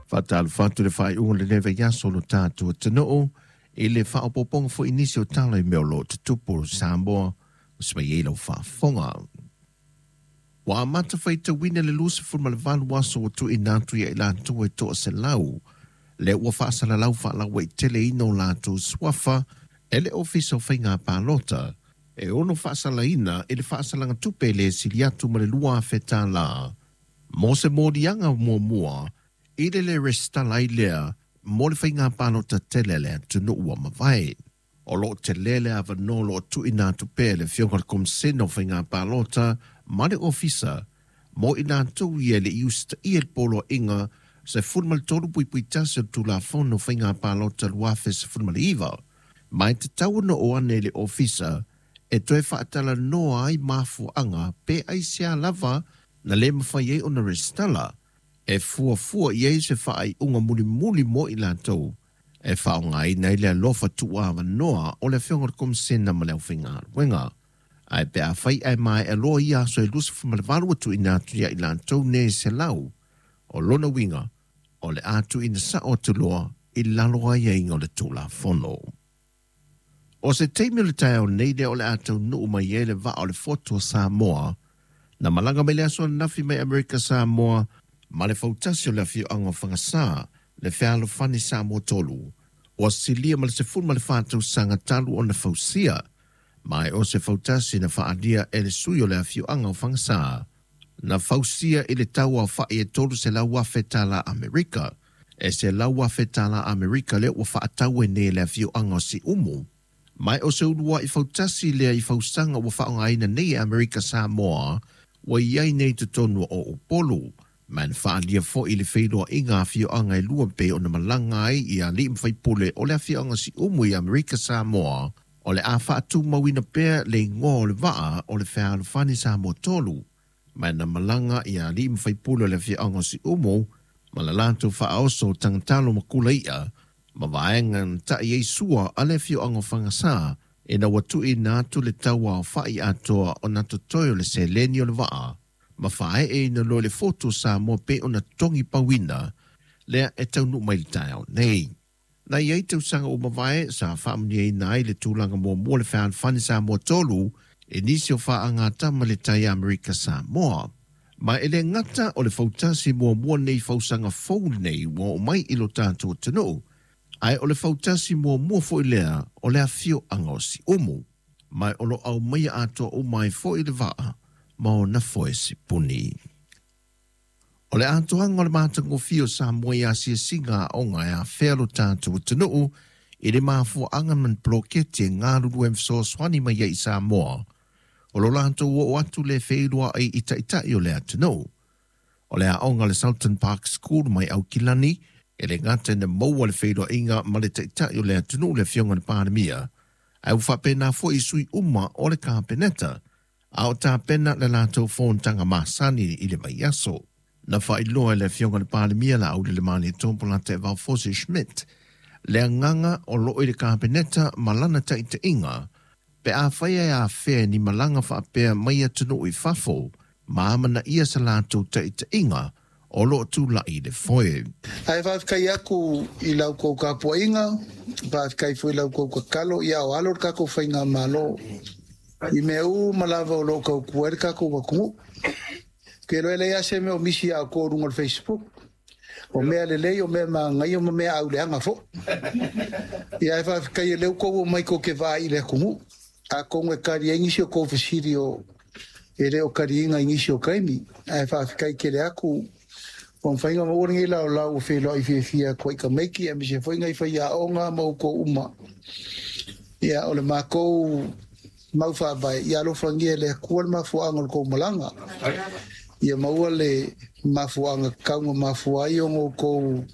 Faatalofa atu i le faaiuga o lenei vaiaso o lo tatou atunuu i le faaopoopoga foi i nisi o tala i mea o lo o tutupu i Samoa ua simai ai lau faafofoga. Ua amata faitauina le 28 aso ua tuuina atu ia i latou e 100 lea ua faasalalau faalauaiteleina o latou suafa e le Ofisa o Faiga Palota e ono faasalaina i le faasalaga tupe le sili atu ma le $2,000 mo se moliaga muamua i le le resitala ai lea mo le faiga palota tele a le atunuu ua mavae. O lo o tele le avanoa o lo o tuuina atu pea e le Afioga i le Komisena o Faiga Palota ma le Ofisa mo i latou ia e le i usitaia le Poloaiga 13.1 o le Tulafono o Faiga Palota 2019, ma e tatau ona oo ane i le Ofisa e toe faatalanoa ai mafuaaga pe aisea lava na le mafai ai ona resitala, e fuafua i ai se faaiuga mulimuli mo i latou e faaaogaina ai le alofa tuuavanoa o le Afioga i le Komisena ma le aufaigaluega. Ae pe afai ae maea loa ia aso e 28 ua tuuina atu ia i latou nei 100, o lona uiga o le a tuuina sao atu loa i lalo o aiaiga o le Tulafono. O se taimi o le taeao nei lea o le a taunuu mai ai le vaa o le Fotu o Samoa, na malaga mai le aso ananafi mai Amerika Samoa ma le fautasi o le afioaga o Fagasā, le Fealofani Samoa 3, ua silia ma le 14 tausaga talu ona fausia, ma e o se fautasi na faaalia e le sui o le afioaga o Fagasā, na fausia i le tau aofai e $300,000 Amerika, e $100,000 Amerika lea ua faatau ai nei e le afioaga o Siumu. Ma e o se uluai fautasi lea i fausaga ua faaaogaina nei e Amerika Samoa ua i ai nei i totonu o Upolu, ma na faaalia foi i le feiloaiga a afioaga e lua pei ona malaga ai i alii ma faipule o le afioaga Siumu i Amerika Samoa, o le a faatumauina pea le igoa o le vaa o le Fealofani Samoa 3, ma na malaga i alii ma faipule o le afioaga o Siumu ma le latou faaoso o tagatalo ma kula i'a ma vaega na ta'i ai sua a le afioaga o Fagasā ina ua tuuina atu le tau aofa'i atoa o na totoe o le seleni o le vaa ma faaeeina loa i le Fotu o Samoa pei ona togi pauina lea e taunuu mai i le taeao nei. Na i ai tausaga ua mavae sa faamanuiaina ai le tulaga muamua le Fealofani Samoa 3 i nisi o faagatama le tai Amerika Samoa. Ma e le gata o le fautasi muamua nei fausaga fou lenei ua oo mai i lo tatou atunuu, ae o le fautasi muamua foi lea o le afioaga o Siumu. Ma o lo o aumaia atoa uma ai foi le vaa ma ona foe sipuni. O le atoaga o le matagofie o Samoa i asiasiga aoga e afea lo tatou atunuu i le mafuaaga ma ni poloketi e galulue ma fesoasoani mai ai i Samoa, o lo latou oo atu le feiloai i taitai o le atunuu. O le aoga le Sultan Park School mai Aukilani, e le gata ina maua le feiloaiga ma le taitai o le atunuu le Afioga i le Palemia, ae ua faapena foi i sui uma o le Kapeneta, a o tapena le latou fonotaga masani i le vaiaso. Na faailoa e le Afioga i le Palemia Laaulialemalietoa Polataivao Fosi Schmidt le agaga o lo o i le Kapeneta ma lana taitaiga pe afai e afea ni malaga faapea mai atunuu i fafo ma amanaia sa latou taitaiga o lo o tulai i le foe. Ae faafetai atu i la outou tapuaiga, faafetai foi i la outou tatalo, ia o alo le tatou faigamalo i mea uma lava o lo o tautua ai le tatou atunuu. Ou te iloa e leai lava se mea o misi ia outou i luga o le Facebook, o mea lelei, o mea manaia ma mea auleaga foi. Ia ae faafetai o lea ua outou omai tou te vaai i le atunuu. Atonu e tali ai nisi o tou fesili o e le o taliina i nisi o taimi. Ae faafetai tele atu ua mafai ona maua lenei laolao ua feiloai fiafia atu ai tamaiti aemaise foi nai faiaoga ma outou uma. Ia o le matou mau faavae, ia alofagia e le Atua le mafuaaga o le tou malaga. Ia maua le mafuaaga tatau na mafua ai ona outou